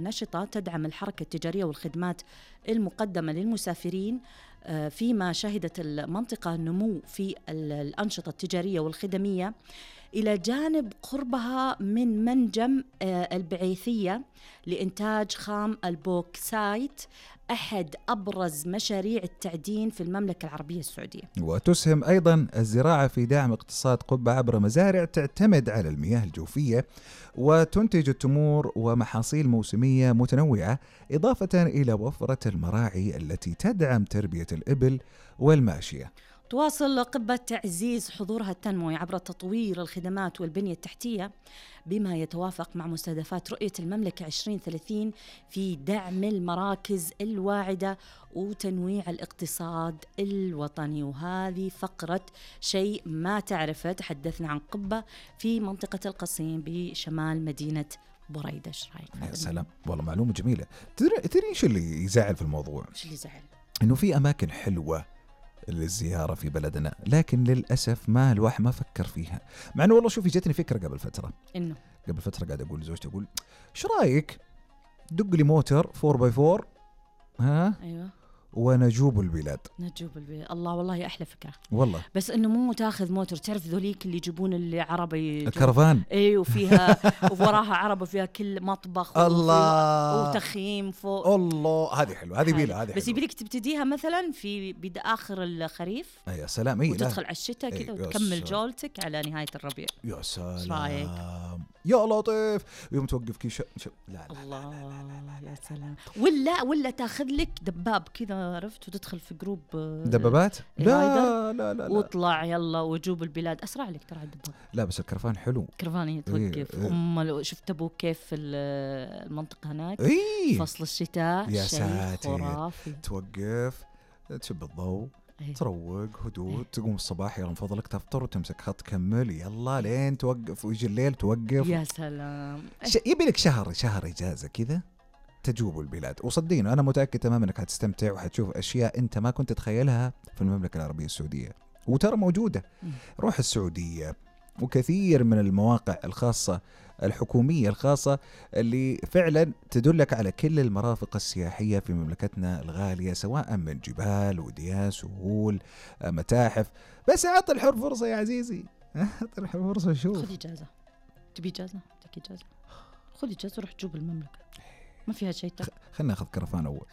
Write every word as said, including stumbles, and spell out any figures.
نشطة تدعم الحركة التجارية والخدمات المقدمة للمسافرين، فيما شهدت المنطقة نمو في الأنشطة التجارية والخدمية إلى جانب قربها من منجم البعيثية لإنتاج خام البوكسايت، أحد أبرز مشاريع التعدين في المملكة العربية السعودية. وتسهم أيضا الزراعة في دعم اقتصاد قبة عبر مزارع تعتمد على المياه الجوفية وتنتج التمور ومحاصيل موسمية متنوعة، إضافة إلى وفرة المراعي التي تدعم تربية الإبل والماشية. تواصل قبة تعزيز حضورها التنموي عبر تطوير الخدمات والبنية التحتية بما يتوافق مع مستهدفات رؤية المملكة عشرين ثلاثين في دعم المراكز الواعدة وتنويع الاقتصاد الوطني. وهذه فقرة شيء ما تعرفه، تحدثنا عن قبة في منطقة القصيم بشمال مدينة بريدة. ايش رايك؟ يا سلام، والله معلومة جميلة. تدري ايش اللي يزعل في الموضوع؟ ايش اللي يزعل؟ انه في اماكن حلوة للزيارة في بلدنا، لكن للأسف ما الواحد ما فكر فيها. مع أنه والله شوفي جتني فكرة قبل فترة إنه قبل فترة قاعد أقول لزوجتي، أقول إيش رأيك دق لي موتر فور باي فور ها أيوة ونجوب البلاد. نجوب البلاد، الله والله أحلى فكرة والله. بس إنه مو تاخذ موتر، تعرف ذوليك اللي يجيبون اللي عربي الكرفان، اي وفيها ووراها عربة فيها كل مطبخ الله وتخييم فوق. الله هذه حلوة، هذه بيلا، هذه بس يبيلك تبتديها مثلا في بدا آخر الخريف. يا سلام. أي وتدخل على الشتاء كذا وتكمل جولتك على نهاية الربيع. يا سلام يا لطيف. يوم توقف كي ش... ش... لا لا الله لا لا لا لا يا سلام. ولا ولا تاخذ لك دباب كذا، عرفت، وتدخل في جروب دبابات. لا لا لا واطلع يلا وجوب البلاد. أسرع لك ترى الدباب. لا بس الكرفان حلو. كرفاني توقف. إيه أم لو شفت أبوك كيف في المنطقة هناك إيه؟ فصل الشتاء يا شيء خرافي. توقف تشب الضوء أيه. تروق هدوء. أيه. تقوم الصباح يلا من فضلك تفطر وتمسك خط كمل يلا لين توقف ويجي الليل توقف. يا سلام. ش... يبي لك شهر شهر إجازة كذا تجوب البلاد. وصدقيني أنا متأكد تماما أنك هتستمتع وحتشوف أشياء أنت ما كنت تتخيلها في المملكة العربية السعودية، وترى موجودة. روح السعودية وكثير من المواقع الخاصة الحكومية الخاصة اللي فعلا تدلك على كل المرافق السياحية في مملكتنا الغالية، سواء من جبال وديان سهول متاحف. بس أعطي الحر فرصة يا عزيزي، أعطي الحر فرصة. شوف خذ إجازة. تبي إجازة؟ تبي إجازة؟ خذ إجازة وروح جوب المملكة، ما فيها شيء. خلنا ناخذ كرفان أول.